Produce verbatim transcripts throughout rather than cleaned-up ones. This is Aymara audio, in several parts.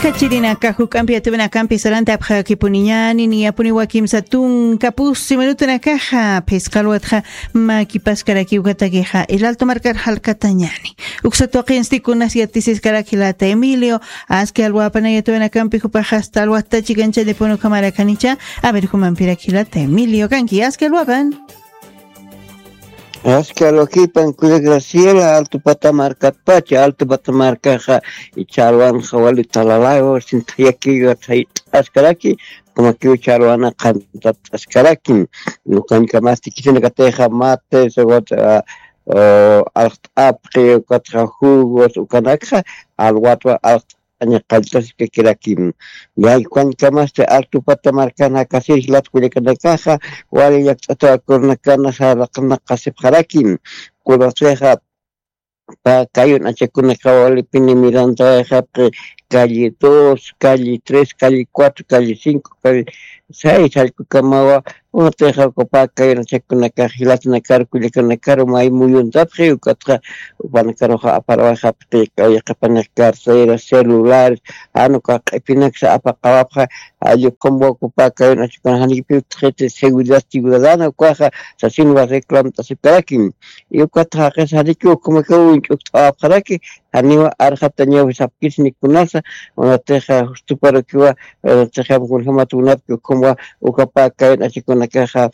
Kachirinaka juk'ampi atuwinakampi sarantapxakipuniñani niyapuniwa kimsa tunka pusi minutunakaxa phisqa alwatxa makipaskaraki ukatakixa el alto markar jalkatañani. Uksa tuqinsti kunas yatisiskarak jilata Emilio, aski alwapanay atuwinakampi jupaxa asta alwata chikanchallipun ukhamarakanïcha. A ver, jumanpirak jilata Emilio kanki aski alwapan. Aski alwakipan kulla Graciela, alto pata markatpacha, alto pata markaxa icha alwanxa wali talalawa sintayakiwa sayt'askaraki, kumakiw icha alwana qantat'askarakim. Ukankamasti kisinakatixa mate sewata, alxt'apxi ukatxa jugos ukanakxa alwatwa alxt'aña qallt'asikakirakim. Yaykuwankamasti altupata markan jakasir jilat kullakanakaxa wali llakt'atawa kurunakana saraqnaqasipxarakim. Kunasixa pa kayun achakunakawa walipini Miranda wayxapxi calle dos, calle tres, calle cuatro, calle cinco, calle seis jallkukamawa. Unatixa ukapa kayun achakunakax jilatanakaru kullakanakaru may muyuntapxi ukatxa upanakaruxa aparawayxapxi kawyaqipanix carteras, celulares, jan uka q'ipinaksa apaqawapxa. Alli ukham wakupa kayun achakuna janikipiw utjiti seguridad ciudadana ukaxa sasinwa reclamt'asipkarakim. Y ukatxa jaqis janikiw ukhamakaw uñch'ukt'awapxaraki, janiwa arxatañaw sapkisni kunasa. Unatixa justuparukiwa, unatixa kunjämat unapki ukhamwa ukapa kayun achakunakaxa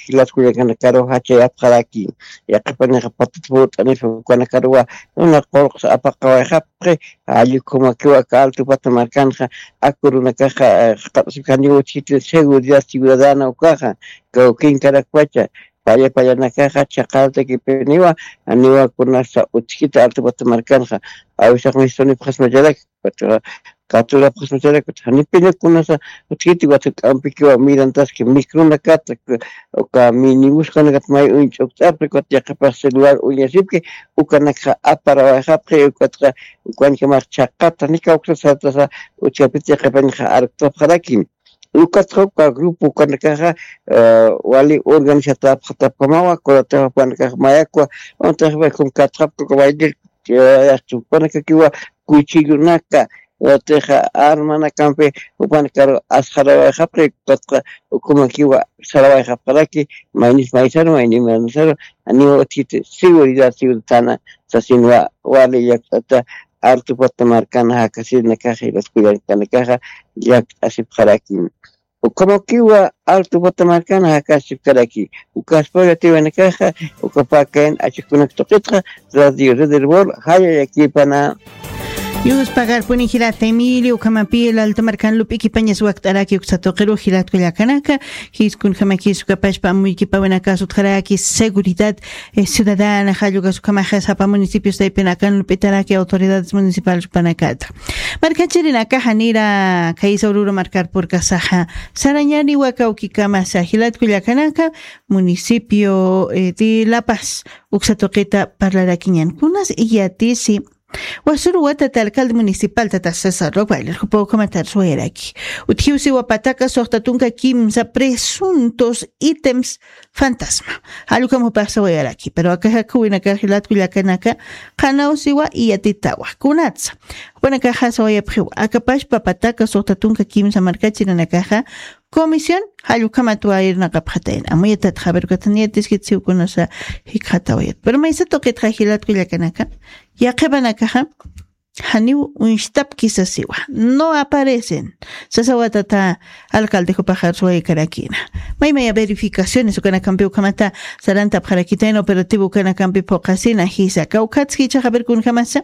jilat kullakanakaru jachayapxaraki. Yaqipanixa patat purt'anisa ukanakaruwa una qurqsa apaqawayxapxi. Alli ukhamakiwa aka altupata markanxa akurunakaxa qat'asipkaniwa utjiti seguridad ciudadana ukaxa kawkinkarakpacha. Palla pallanakaxa chhaqatakipiniwa, janiwa kunasa utjkiti altupata markanxa. Awisax mistunipxasmacharaki, katurapxasmacharaki, janipiña kunasa utjkiti wata k'ampikiwa mirantaski mikrunakata, uka minibuskanakata may uñch'ukt'apxi ukat yaqapax celular uñasipki. Ukanakxa aparawayxapxi ukatxa ukankamax chhaqata nikawksasatasa utjapit yaqapañxa arktapxarakim. Ukatxa uka grupo ukanakaxa wali organizatapxatapkamawa kunatax upanakax mayakwa. Unataxpa kum katxapka uka baylil yaqchi upanakakiwa kuchillunaka, unataxa armanakampi upanakaru asxarawayxapxi ukatxa ukhamakiwa sarawayxapxaraki. Maynis maysaru mayni maynisaru janiwa utjiti seguridad ciudadana sasinwa wali llakt'ata altupata markana jakasirinakaxa jilat kullakanakaxa llakt'asipxarakim. Ukhamakiwa altupata markana jakasipkaraki. Ukaspa yatiwanakaxa ukapakayan achakunak tuqitxa radio red del bol jayayakipana. Yuspagarpuni jilat Emilio ukhamapi el alto markan lup'ikipañas wakt'araki uksa tuqiru jilat kullakanaka. Jiskunjamakis ukapashpa amuykipawanaka sutjaraki seguridad ciudadana jallukasukamaxa sapa municipios taypinakan lup'itaraki autoridades municipales upanakata. Markachirinakaxa nira kaysa ururu markarpurkasaxa sarañani wakawkikamasa jilat kullakanaka municipio de La Paz uksa tuqita parlarakiñan kunas iyatisi. Wasuru watata alcalde municipal tata César Rock Bailer jupa ukhamatar suwayaraki. Utjiwsiwa pataka suxta tunka kimsa presuntos ítems fantasma. Jallukam jupax sawayaraki pero akajakuwinaka jilatkullakanaka qanawsiwa iyatitawa kunatsa. Jupanakaxa sawayapxiwa akapashpa pataka suxta tunka kimsa markachirinakaxa comisión jallukhamat wayirnaqapxatayan amuyatatxa averkataniyatis jitsiwkunasa jikxatawayat pero maysa tuqitxa jilatkullakanaka yaqhipanakaxa janiw uñstapki sasiwa no aparecen. Sasawatata alcalde jupaxar suwaykarakina maymaya verificaciones ukanakampi ukhamata sarantapxarakitayna operativo ukanakampi phuqasina jisa kawkhatski ichaxa averkunjamasa.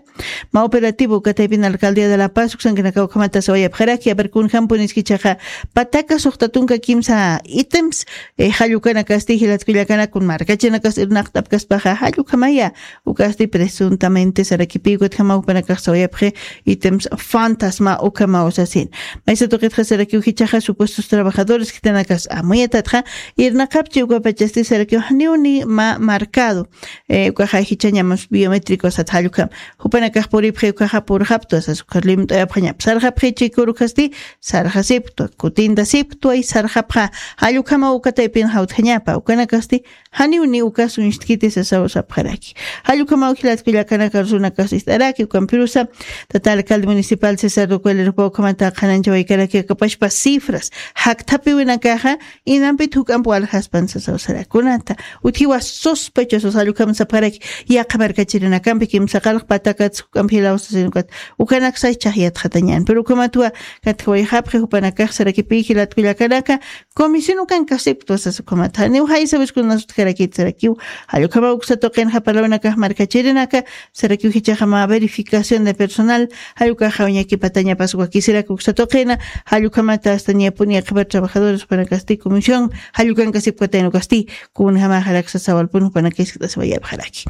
Ma operativo ukataypin alcaldía de la paz uksankanaka ukhamata sawayapxaraki averkunjampunis ichaxa pataka suxta tunka kimsa ítems jallukanakasti jilatkullakanakun markachinakas irnaqt'apkaspaxa jallukhamaya. Ukasti presuntamente sarakipi ukatjama jupanakax sawayapxi ítems fantasma ukhamaw sasin. Maysa tuqitxa sarakiw jichaxa supuestos trabajadores khitanakas amuyatatxa irnaqapchi ukapachasti sarakiw janiw ni ma marcado ukaxa jichañamas biométrico sat jallukham. Jupanakax puripxi ukaxa purxaptwa sas ukhar limt'ayapxañap sarxapxi chikuru khasti sarxasipktwa kutintasipktwa y sarxapxa jallukhamaw ukataypin jawtjañapa ukanakasti janiw ni ukas uñstkiti sasaw sapxaraki. Jallukhamaw jilatkullakanaka rusunakax ist'araki ukampirusa Tata alcalde municipal César Duque Lerpa ukhamata qhananchawaykaraki akapashpa cifras jakthapiwinakaxa, inampit juk'amp waljaspan sasaw sarakunata. Utjiwa sospechosos, jall ukham sapxaraki, yaqha markachirinakampi kimsa qalq patakat juk'amp jilaw sasin ukat, ukanak sas chhaj yatxatañän. Pero ukhamatwa katjawayxapxi jupanakax sarakipï jilat kullakanaka, comisión ukankasipktwa sas ukhamata. Janiw jaysa wiskunas utjarakit sarakiw. Jall ukhama uksa tuqinxa parlawinakax markachirinaka, sarakiw jichhaxa mä verificación de personal, jall ukaxa uñakipatañapas wakisirak uksa tuqina, jall ukhamata hasta ñapuni yaqhipa trabajadores jupanakasti comisión, jall ukankasipkatayn ukasti, kunjamaxarak sasawalpun jupanakax jisk't'asiwayapxaraki.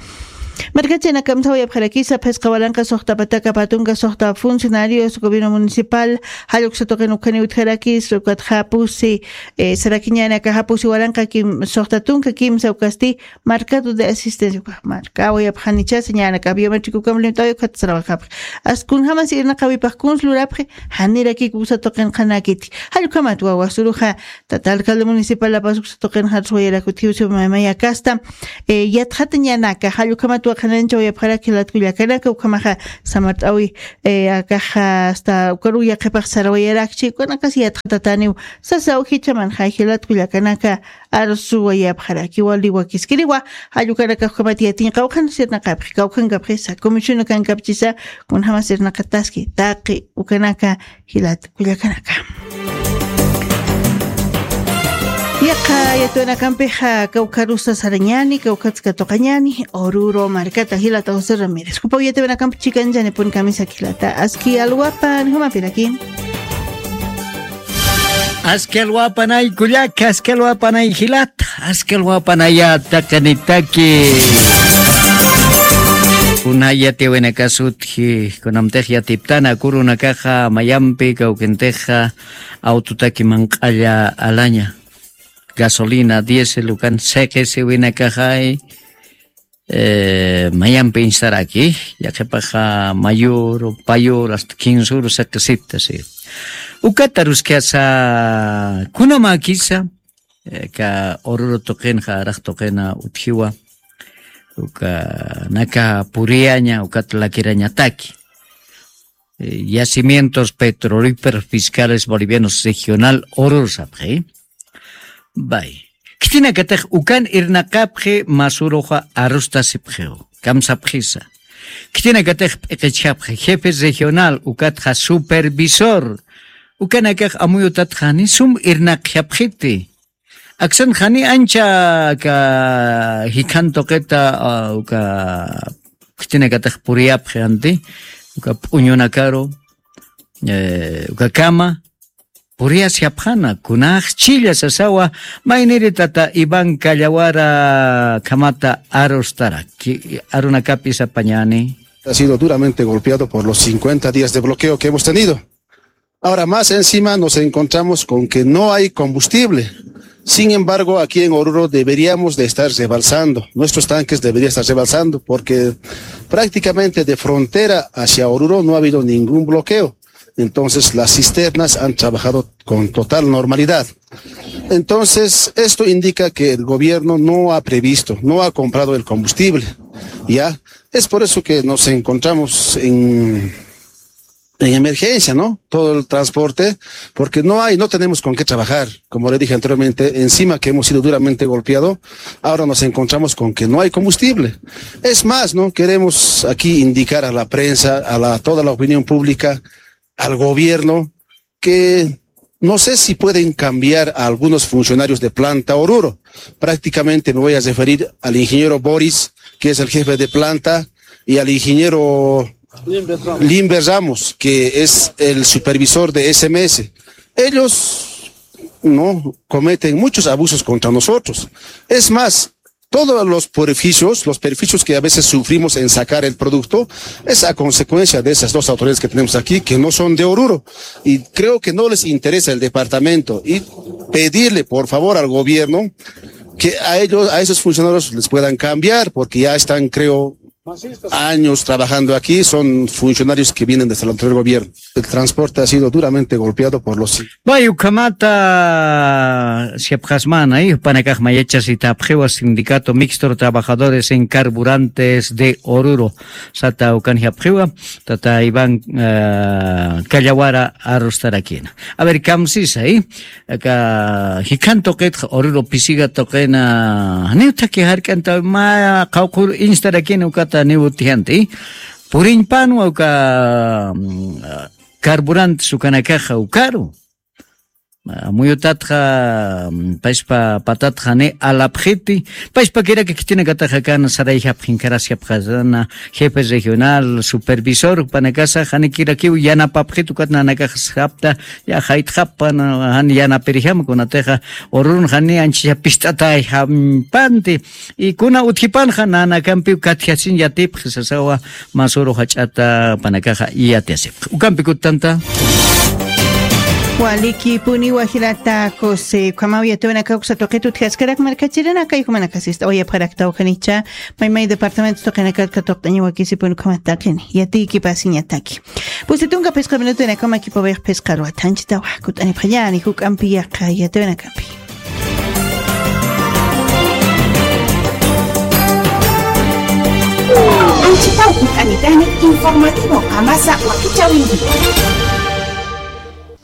Markachinakam sawayapxarakisa, phisqa walanqa suxta pataka patunka suxta funcionarios gobierno municipal, jall uksa tuqin ukhaniw utjarakis, ukatxa pusi, eh, sarakiñanaka japusi walanqa kim, suxta tunka kimsa ukasti, mercado de asistencia, ukax markawayapxanichasa, ñanaka biométrico ukham limitawi ukat sarawaxapxi. As kunjamas irnaqawipxi, kuns lurapxi, janirakiku uksa tuqin qhanakiti. Jall ukhamat wawa suruxa, tata alcalde municipal La Paz uksa tuqin jarswayarak utjiw siwa mayakasta, eh, yatxatañanaka, jall ukhamat qhananchawayapxarak jilat kullakanaka, ukhamaxa samart'awi, eh, akaxa hasta ukaru yaqhipax sarawayarakchi, ukanakas yatxatataniw, sasaw jichhamanxa jilat kullakanaka, arsuwayapxaraki wali wakiskiriwa, jall ukanakax ukhamat yatiñ qawqhan sirnaqapxi, kawkhankapxisa, comisión ukankapchisa, kunjamas irnaqataski, taqi ukanaka, jilat kullakanaka. Yaqha yatiyawinakampixa kawkharusa sarañäni, kawkhatsa katuqañäni, Oruro markata jilata José Ramírez. Jupaw yatiyawinakampi chikanchañanipun kamisaki jilata, aski alwapan, jumapiraki. Aski alwapanay kullaka, aski alwapanay jilata, aski alwapanaya taqinitaki. Kunay yatiyawinakas utji, kunamtix yatiptana, kurunakaxa mayampi kawkintixa autotaki manq'alla alaña, gasolina, diésel ukan siqisiwinakaxay, eh, mayampi insaraki, yaqhipaxa mayuru, payuru, hasta kinsuru siqisita, sí. Ukat aruskasa, kunamakisa, eh, ka Oruro tuqinxa, araq tuqina utjiwa, ukanaka puriyaña, ukat lakirañataki. Eh, Yacimientos Petrolíferos Fiscales Bolivianos Regional Oruro sapxi. Bay. Khitinakatix ukan irnaqapxi masuruxa arustasipxiw. Kamsapxisa. Khitinakatix p'iqichjapxi jefe regional ukatxa supervisor. Ukanakax amuyutatxani sum irnaqjapxiti. Aksan jani ancha ka jikhan tuqita, ah, uka khitinakatix puriyapxi anti, uka p'uñunakaru, eh, uka kama, puriyasjapxana, kunaxchilla sasawa, mayniri tata Iván Callawara kamata arustara, ki-, arunakapi sapañani. Ha sido duramente golpeado por los cincuenta días de bloqueo que hemos tenido. Ahora, más encima nos encontramos con que no hay combustible. Sin embargo, aquí en Oruro deberíamos de estar rebalsando. Nuestros tanques deberían estar rebalsando porque prácticamente de frontera hacia Oruro no ha habido ningún bloqueo. Entonces, las cisternas han trabajado con total normalidad. Entonces, esto indica que el gobierno no ha previsto, no ha comprado el combustible. ¿Ya? Es por eso que nos encontramos en en emergencia, ¿no? Todo el transporte, porque no hay, no tenemos con qué trabajar. Como le dije anteriormente, encima que hemos sido duramente golpeado, ahora nos encontramos con que no hay combustible. Es más, ¿no? Queremos aquí indicar a la prensa, a la, toda la opinión pública, al gobierno, que no sé si pueden cambiar a algunos funcionarios de planta Oruro. Prácticamente me voy a referir al ingeniero Boris, que es el jefe de planta, y al ingeniero Limber Ramos, que es el supervisor de S M S. Ellos no cometen muchos abusos contra nosotros. Es más, todos los perjuicios, los perjuicios que a veces sufrimos en sacar el producto, es a consecuencia de esas dos autoridades que tenemos aquí, que no son de Oruro. Y creo que no les interesa el departamento. Y pedirle, por favor, al gobierno que a ellos, a esos funcionarios les puedan cambiar, porque ya están, creo, años trabajando aquí, son funcionarios que vienen desde el anterior gobierno. El transporte ha sido duramente golpeado por los... Vay, ukhamata siyapxasmana, eh, jupanakax mayachasitapxiwa sindicato mixto de trabajadores en carburantes de Oruro. Sata ukan siyapxiwa, tata Iván, eh, Callawara arustarakina. A ver, kamsisa, eh. Aka jikhan tuqitxa Oruro pisiga tuqina, janiw thaki jark'antaw mä qawqhur instarakina ukata niw utjanta, eh. Puriñpanwa uka, mm, carburantes ukanakaxa ukaru. Ah, muyutatxa, mm, payspa patatxa ni alapxiti, payspa kiraki khitinakataxa kan sarayjapxi, inkarasjapxasana, jefe regional, supervisor, panakasa, janikirakiw yanapapxit ukat nanakax sapta, ya jaytxapana, jan yanapirjama kunatixa, ururun jani anchisa pist'atay jampanti, y kuna utjipanxa nanakampiw katjasin yatipxi sasawa, masuru jach'ata panakaxa yatiasipxi. Ukampi kutanta. Walikipuniwa jilata José, ukhamaw yatiwanakaw uksa tuqit utjaskarak markachirinakay, jumanakasista uyapxaraktaw janicha, maymay departamento tuqinakat katuqt'aña wakisipun ukhamat taqini. Yatiykipasiñataki. Pusi tunka phisqa minutonakama kipawix phisqa ruwat janchitawa. Kut'anipxañani juk'ampi yaqa yatiwanakampi. Anchitaw kut'anitani informativo qamasa wakichäwinki.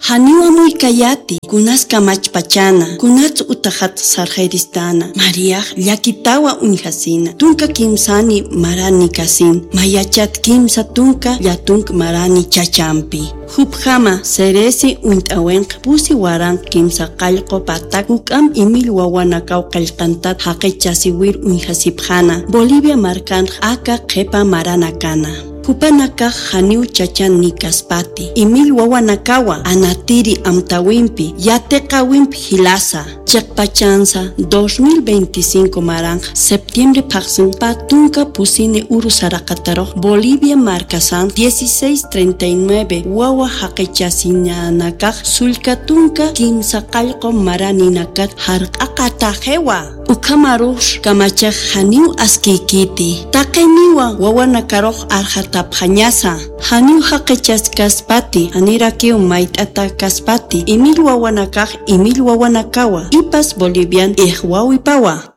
Janiw amuykayäti, kunas kamachpachäna, kunats utaxat sarxiristäna, Mariax llakitawa uñjasina, tunka kimsani maranikasina, mayachat kimsa tunka llatunk marani chachampi. Jupjama, seresi uñt'äwinx pusi waranq kimsa qallqu patak juk'amp imill wawanakaw qillqantat jaqichasiwir uñjasipxäna, Bolivia markanx aka qhipa maranakana. Jupanakax janiw chachan nikaspati, imill wawanakawa anatiri amtäwimpi, yatiqäwimp jilasa, chiqpachansa dos mil veinticinco maranx septiembre phaxsin pä tunka pusini uru saraqatarux Bolivia markasan dieciséis treinta y nueve wawa jaqichasinanakax sullka tunka kimsa qallqu maraninakat jarq'aqataxiwa. Ukhamarux kamachax janiw askiykiti. Taqiniwa wawanakarux arxatapxañasa. Janiw jaqichaskaspati, janirakiw mayt'atakaspati, imill wawanakax, imill wawanakawa, ipas Bolivian ixwawipawa.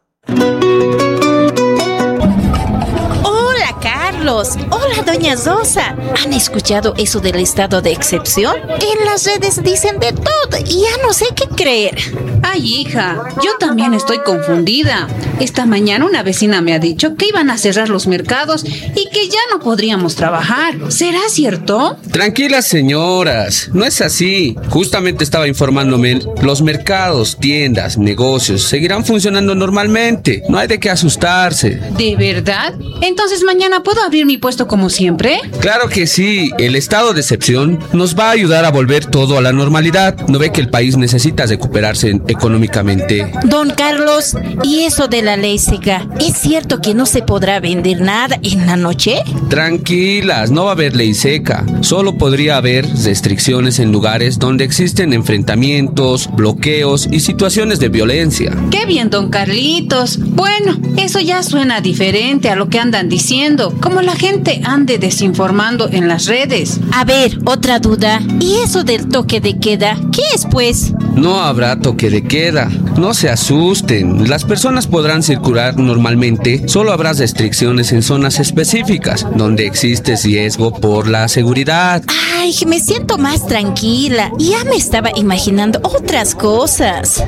Hola, Carlos. Hola, doña Rosa. ¿Han escuchado eso del estado de excepción? En las redes dicen de todo y ya no sé qué creer. Ay, hija, yo también estoy confundida. Esta mañana una vecina me ha dicho que iban a cerrar los mercados y que ya no podríamos trabajar. ¿Será cierto? Tranquilas, señoras, no es así. Justamente estaba informándome, los mercados, tiendas, negocios seguirán funcionando normalmente. No hay de qué asustarse. ¿De verdad? Entonces, ¿mañana puedo abrir mi puesto como siempre? Claro que sí, el estado de excepción nos va a ayudar a volver todo a la normalidad. ¿No ve que el país necesita recuperarse económicamente? Don Carlos, ¿y eso de la ley seca? ¿Es cierto que no se podrá vender nada en la noche? Tranquilas, no va a haber ley seca. Solo podría haber restricciones en lugares donde existen enfrentamientos, bloqueos y situaciones de violencia. Qué bien, don Carlitos. Bueno, eso ya suena diferente a lo que andan diciendo, como la gente ande desinformando en las redes. A ver, otra duda. ¿Y eso del toque de queda? ¿Qué es, pues? No habrá toque de queda. No se asusten. Las personas podrán circular normalmente. Solo habrá restricciones en zonas específicas donde existe riesgo por la seguridad. Ay, me siento más tranquila. Ya me estaba imaginando otras cosas.